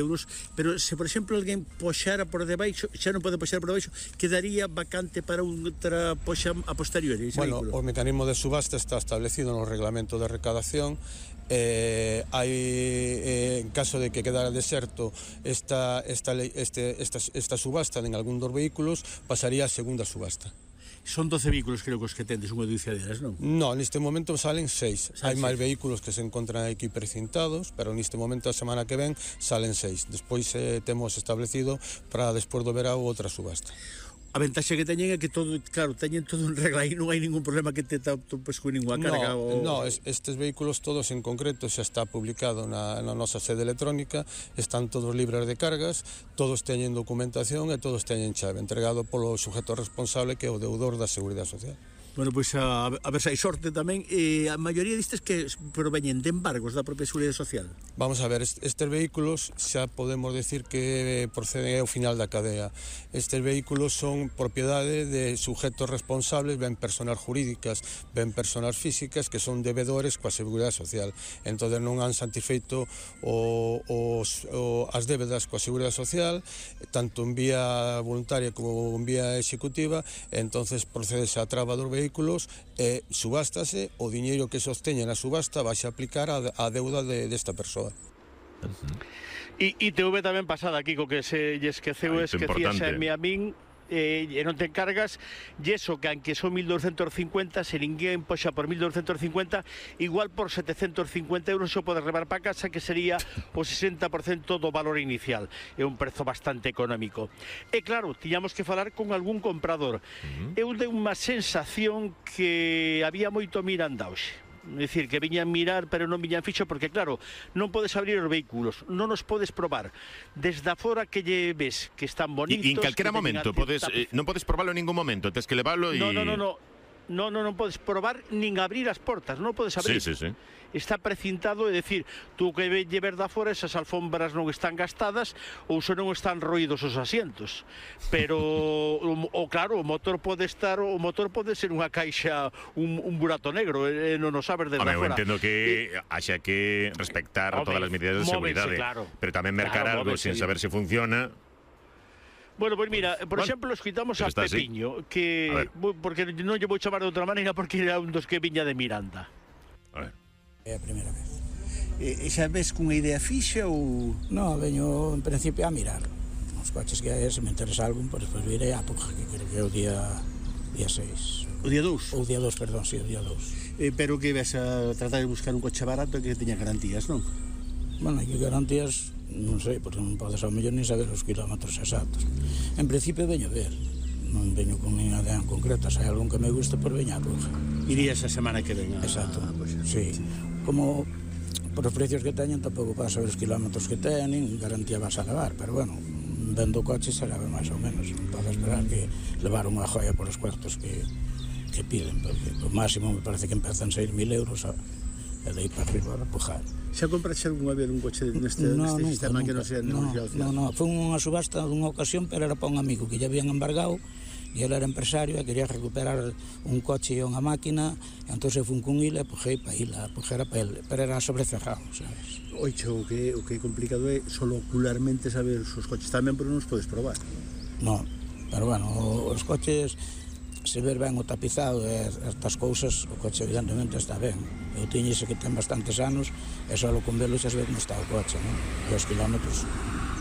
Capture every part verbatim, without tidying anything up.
euros, pero se, por exemplo, alguén poxara por debaixo, xa non pode poxar por debaixo, quedaría vacante para outra poxa a posteriori. Bueno, vehículo. O mecanismo de subasta está establecido no reglamento de recadación. Eh, hai, eh, en caso de que quedara deserto esta, esta, este, esta, esta subasta en algún dos vehículos, pasaría a segunda subasta. Son doce vehículos, creo que os que tendes, unha dúcia non? No, neste momento salen seis. Hai máis seis. vehículos que se encontran aquí precintados, pero neste momento a semana que ven salen seis. Despois eh, temos establecido para despois do verao outra subasta. A ventaxa que teñen é que todo, claro, teñen todo en regla e non hai ningún problema que te topes con ninguna carga. No, o... no, estes vehículos todos en concreto xa está publicado na, na nosa sede electrónica, están todos libres de cargas, todos teñen documentación e todos teñen chave, entregado polo sujeto responsable que é o deudor da Seguridade Social. Bueno, pois a, a ver se hai sorte tamén. E a maioría destes que proveñen de embargos da propia Seguridade Social. Vamos a ver, estes vehículos xa podemos decir que proceden ao final da cadea. Estes vehículos son propiedade de sujetos responsables, ben personas jurídicas, ben personas físicas, que son devedores coa Seguridade Social. Entón non han satisfeito o, os, o, as débedas coa Seguridade Social, tanto en vía voluntaria como en vía executiva, entonces procedese a traba dos vehículos vehículos e subástase, o diñeiro que sosteña na subasta vai a aplicar a, a deuda de, desta persoa. E I T V tamén pasada, Kiko, que se lle esqueceu, ah, esquecíase a mi a min, eh, e non te encargas, e eso que aunque son mil doscientos cincuenta, se ninguén poxa por mil doscientos cincuenta, igual por setecentos cincuenta euros xo podes levar para casa, que sería o sesenta por cento do valor inicial. É un prezo bastante económico. E claro, tiñamos que falar con algún comprador. Uh-huh. Eu de unha sensación que había moito miranda hoxe. É dicir, que viñan mirar, pero non viñan fixo, porque claro, non podes abrir os vehículos, non os podes probar. Desde afora que lle ves que están bonitos... E en calquera momento, podes, eh, non podes probarlo en ningún momento, tens que levarlo e... No, no, no, no. No, no, non podes probar nin abrir as portas, non podes abrir. Sí, sí, sí. Está precintado, é dicir, tú que lle ver da fora, esas alfombras non están gastadas ou só non están roídos os asientos. Pero, o, o claro, o motor pode estar, o motor pode ser unha caixa, un, un burato negro, e non o sabes desde fora. Eu fora. entendo que e... haxa que respectar Home, todas as medidas de seguridade, claro. Pero tamén mercar claro, algo sen saber se funciona... Bueno, pois mira, por bueno, exemplo, escoitamos a Pepiño, así. Que porque non lle vou chamar de outra maneira porque era un dos que viña de Miranda. A ver. É a primeira vez. E xa ves cunha idea fixa ou...? No, veño en principio a mirar. Os coches que hai, se me interesa algún, pois despois virei a Puja, que creo que é o día día seis. O día dous? O día dos, perdón, si, sí, o día dos. Eh, pero que ves a tratar de buscar un coche barato que teña garantías, non? Bueno, que garantías... non sei, porque non podes ao mellor nin saber os kilómetros exactos. En principio veño ver, non veño con ninguna idea en concreta, se hai algún que me guste, pois veña a Bruja. Irías a semana que ven a... Exacto, pues, sí. Como por os precios que teñen tampouco para saber os kilómetros que teñen, garantía vas a levar, pero bueno, vendo o coche se leva máis ou menos, non podes esperar que levar unha joia por os cuartos que, que piden, porque o máximo me parece que empezan seis mil euros a, e de aí para arriba a pujar. Xa compraste algunha vez un coche neste, no, neste nunca, sistema nunca, que non sea negociado? No, no, foi unha subasta dunha ocasión, pero era para un amigo que ya habían embargado e ele era empresario e quería recuperar un coche e unha máquina, e entón se fun con ele e pujei para ila, pujera para ele, pero era sobrecerrado, sabes? Oixe, o que, o que é complicado é solo ocularmente saber os coches tamén, pero non os podes probar. No, pero bueno, os coches... se ver ben o tapizado e estas cousas, o coche evidentemente está ben. Eu tiño ese que ten bastantes anos e só con velo xa se ve como está o coche, non? E os kilómetros,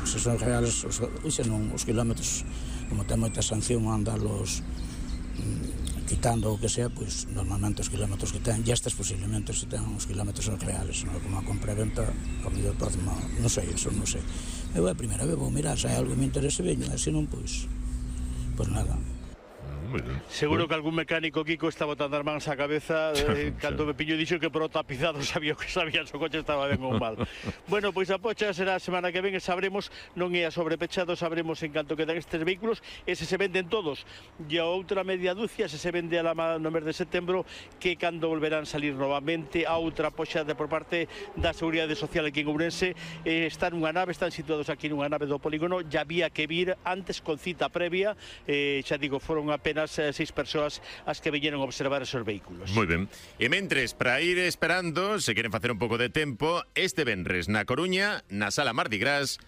se son reales, os, se non, os kilómetros, como ten moita sanción a andarlos mm, quitando o que sea, pois normalmente os kilómetros que ten, e estes posiblemente se ten os kilómetros son reales, non? Como a compra e venta, ao mellor pode, non sei, eso non sei. Eu a primeira vez vou mirar, se hai algo que me interese veño, e se non, pois, pois nada. Seguro que algún mecánico, Kiko, está botando as mans á cabeza eh, cando Pepiño dixo que por o tapizado sabía que sabía se o coche estaba ben ou mal. Bueno, pois a pocha será a semana que ven e sabremos, non é a sobrepechado, sabremos en canto quedan estes vehículos e se se venden todos. E a outra media dúcia se se vende a la no mes de setembro, que cando volverán salir novamente a outra poxa de por parte da Seguridade Social aquí en Ourense. Eh, están nunha nave, están situados aquí nunha nave do polígono, ya había que vir antes con cita previa, eh, xa digo, foron apenas seis persoas as que viñeron a observar esos vehículos. Moi ben. E mentres, para ir esperando, se queren facer un pouco de tempo, este venres na Coruña, na Sala Mardi Gras,